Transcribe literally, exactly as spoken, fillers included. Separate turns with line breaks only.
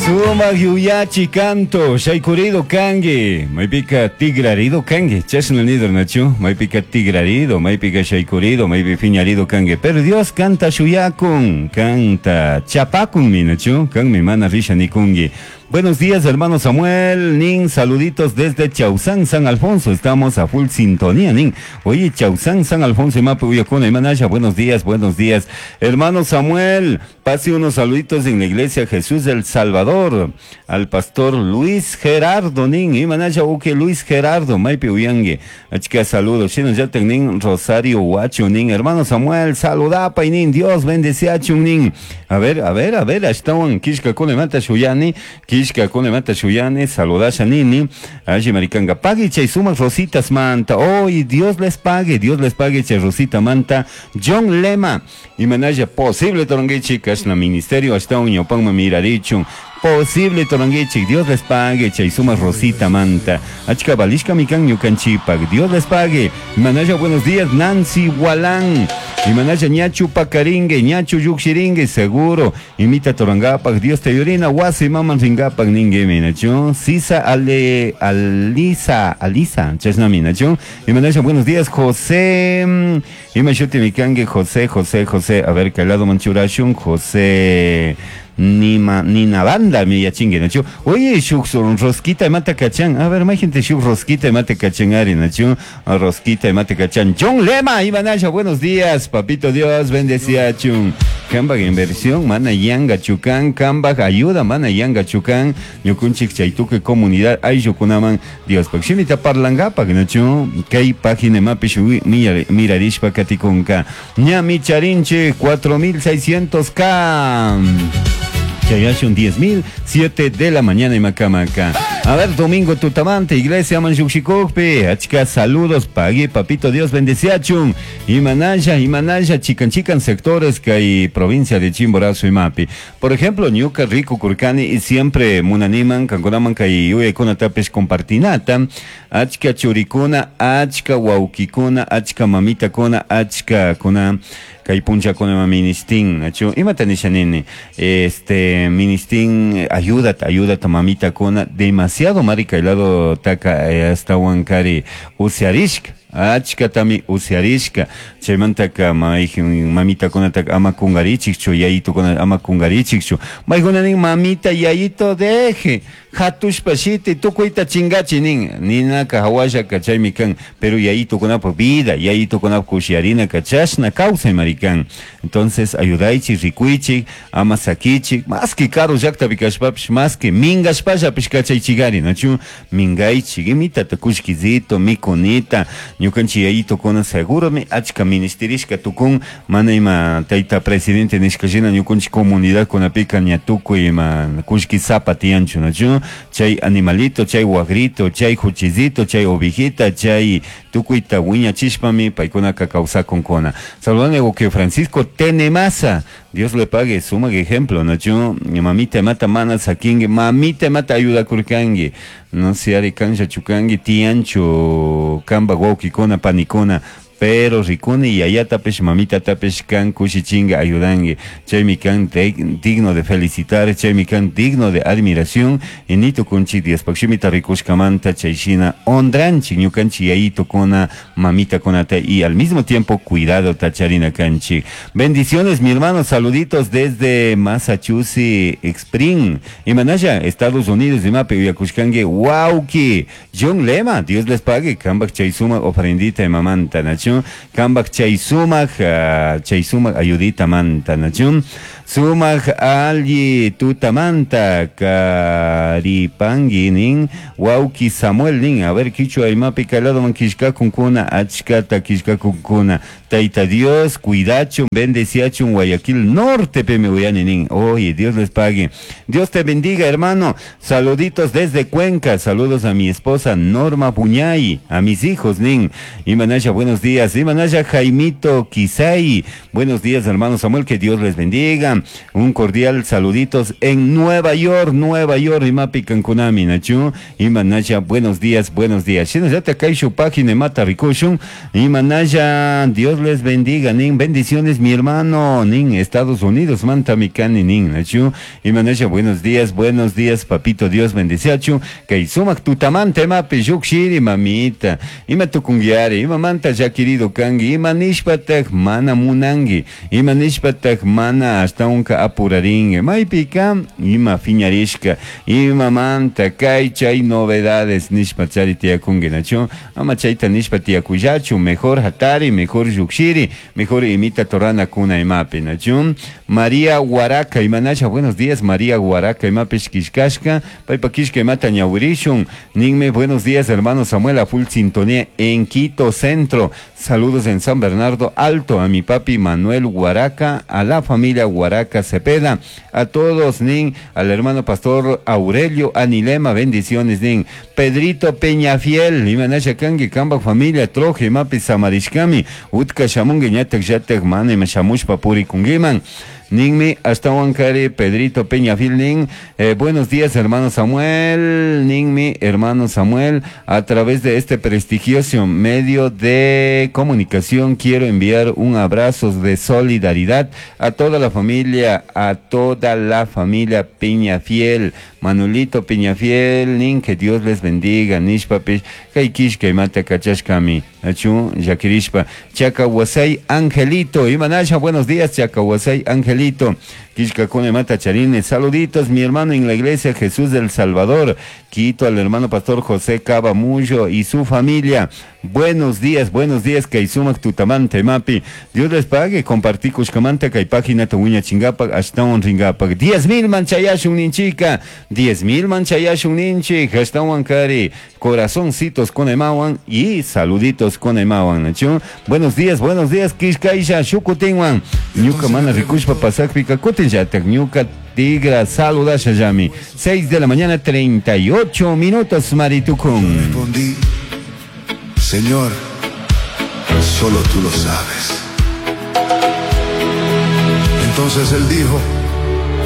Sumak yuyachi canto, shaykurido kangi, maypika tigrarido kangi, chashna nido nachu, maypika tigrarido, maypika shaykurido, maypi fiñarido kangi, pero Dios canta shuyakun, canta chapakun mi nachu, kanmi mana risha nikungi. Buenos días, hermano Samuel, Nin, saluditos desde Chausán, San Alfonso, estamos a full sintonía, Nin. Oye, Chausán, San Alfonso, Mapu, Uyacuna, Manaya, buenos días, buenos días. Hermano Samuel, pase unos saluditos en la iglesia Jesús del Salvador, al pastor Luis Gerardo, Nin, y Manaya, uke Luis Gerardo, Maipi Uyangue, achka saludos, Shino yaten, Nin, Rosario Huacho, Nin, hermano Samuel, saludapa, y Nin, Dios bendice a Nin. A ver, a ver, a ver, ashtawan, kishka kunemata shuyani, kishka kunemata shuyani, saludasha nini, alli maricanga, pague chay sumas rositas manta, hoy Dios les pague, Dios les pague chay rosita manta, John Lema, y manaya posible toronguichi, kashna ministerio, ashtawan ñawpanman mirarichun, posible toronguichi, Dios les pague, chay sumas rosita manta, achka balishka mikan ñukanchipak, Dios les pague, manaya buenos días, Nancy Walán, y manaya ñachu pakaringue, ñachu yukshiringue, seguro, imita torongapak, Dios te yorina, wasi maman ringapak ningue minachu, sisa ale, alisa, alisa, chashna minachu, y manaya buenos días, José, y mashuti mikangue, José, José, José, a ver, calado manchurashun, José, Nima, Nina banda mi yachingue nachu. Oye, shuk rosquita mata cachan. A ver, más gente shuk rosquita mata cachan ari nachu. Rosquita mata cachan. John Lema, Ivanaya, buenos días, papito Dios, bendecía chun. Kambag inversión, mana yanga chukan, kambag ayuda, mana yanga chukan. Ñukunchik chaytuque comunidad, ayukunaman, Dios pakshimita parlangapak nachu. Kay página mapish mirarishpa katikunka. Ñami charinche cuatro mil seiscientos K. Chayashun diez mil, siete de la mañana y Macamaca. A ver, domingo tutamante, iglesia Manchuxicocpe, achka saludos, pague, papito Dios bendeciachun. Y manaya, y manaya, chican chican sectores que hay provincia de Chimborazo y Mapi. Por ejemplo, Ñuca, Rico, Curcani, y siempre munaniman, canconaman, kay uekuna tapes compartinata, achka churicuna, achka wauquicuna, achka mamita cona, achka cona. Kay punchakuna ministin, nachu, imata nisha nini, este, ministin, ayúdate, ayúdate, mamita kuna, demasiado marica, helado taka, eh, hasta huancari, usiarishka, achkatami usiarishka, chaymantaka mamita kunataka ama kungarichikchu, yayito kuna ama kungarichikchu, maykuna nin mamita yayito deje, hatushpa shiti tukuyta chingachi nin, ninaka hawashaka chaymi kan, pero yayito kunapa vida, yayito kunapa kushiarinaka chashna kawsay marikan. Entonces ayudaychik, rikuychik, ama sakichik, más que karu llaqtapi kashpapish, más que minkashpallapish kachaychikari, nachu, minkaychik, imitata kushkizito, mikunita, ñukanchik yayito kuna seguro mi achka ministerishka tukun, mana ima tayta presidente nishka shina ñukanchik comunidad kunapika ña tukuy ima kushkisapa tiyanchu, nachu, chay animalito, chay wagrito, chay juchizito, chay ovejita, chay tukuyta wiñachishpami paykunaka kawsakunkuna. Saludane que Francisco Tenemasa, Dios le pague, suma ejemplo, nachu, mamita mata mana sakingue, mamita mata ayuda kurkangue, no se ari kancha chukangue, tiancho, kamba wawkikuna, panikuna, pero rikuni yayatapish mamitatapish kan kushichinga ayudangue, chaymi kan digno de felicitar, chaymi kan digno de admiración, y nito kunchi Diospakshimita rikushkamanta chayshina ondranchik ñukanchik yayito kuna mamita kunata y al mismo tiempo cuidado tacharina kanchik. Bendiciones mi hermano, saluditos desde Massachusetts Spring y Manaya, Estados Unidos, y mape uyakushkangue wauki John Lema, Dios les pague, kambak chaysuma ofrendita y mamanta nachu, kambak chaysumak, uh, chaysumak ayudita manta nachun, sumak alli tutamanta karipangi nin wauki Samuel nin, a ver kichwa imapi kalado man kishkakunkuna achkata kishkakunkuna, Taita Dios cuidachun bendeciachun Guayaquil Norte peme uyani nin, oye Dios les pague, Dios te bendiga hermano, saluditos desde Cuenca, saludos a mi esposa Norma Puñay, a mis hijos nin, Imanaya buenos días, Imanaya Jaimito Quisay, buenos días hermano Samuel, que Dios les bendiga. día. Un cordial saluditos en Nueva York, Nueva York, imapi kankunami, nachu, imanaya, buenos días, buenos días. Shinallata kay página mata rikushun, imanaya, Dios les bendiga, nin, bendiciones mi hermano, nin, Estados Unidos, manta mi kani, nin, nachu, imanaya, buenos días, buenos días, papito, Dios bendiciachu, kay sumak tutamanta imapi llukshiri, mamita, ima tukunguiari, ima manta llaquirido kangi, ima nishpatak mana munangi, ima nishpatak mana ashtawanka apuraringi, maypika ima fiñarishka, ima manta kay chay novedades nishpa chari tiyakungi, nachu, ama chayta nishpa tiyakullachu, mejor hatari, mejor llukshiri, mejor imita torana kuna imapi, nachu. María Guaraca, imanasha, buenos días, María Guaraca, imapish kishkashka, paypa kishka imata ñawirishun, ninme, buenos días, hermano Samuel, a full sintonía en Quito Centro, saludos en San Bernardo Alto, a mi papi Manuel Guaraca, a la familia Guaraca Cepeda, a todos, nin, al hermano pastor Aurelio Anilema, bendiciones, nin, Pedrito Peñafiel, imanasha kangi, kamba familia, troje, imapi samarishkami, utka shamungi, ñatak yatak mana ima shamushpa purikungiman. Ninmi, ashtawankari, Pedrito Peñafiel, nin, eh, buenos días, hermano Samuel, ninmi, hermano Samuel, a través de este prestigioso medio de comunicación quiero enviar un abrazo de solidaridad a toda la familia, a toda la familia Peñafiel, Manuelito Peñafiel, nin, que Dios les bendiga, nishpapish, kay kishka imata kachashkami, achu, llakirishpa, Chacahuasay Angelito, imanasha, buenos días, Chacahuasay Angelito, Kishka Kone Mata Charine, saluditos, mi hermano en la iglesia Jesús del Salvador, Quito al hermano pastor José Cabamullo y su familia. Buenos días, buenos días, Kaisumak Tutamante Mapi. Dios les pague, compartí Kushkamanta, kay página Tuña Chingapak, Ashtawan Ringapak. Diez mil manchayashun ninchika, diez mil manchayashun ninchi, Ashtawan Kari, corazoncitos con emawan y saluditos con emawan. Nachu. Buenos días, buenos días, Kishkaisha, Shukutinwan. Ñuka mana rikushpa pasakpika kutin yatak ñuka tigra saludasha yami. Seis de la mañana, treinta y ocho minutos, Maritukun.
Respondí, Señor, solo tú lo sabes. Entonces él dijo,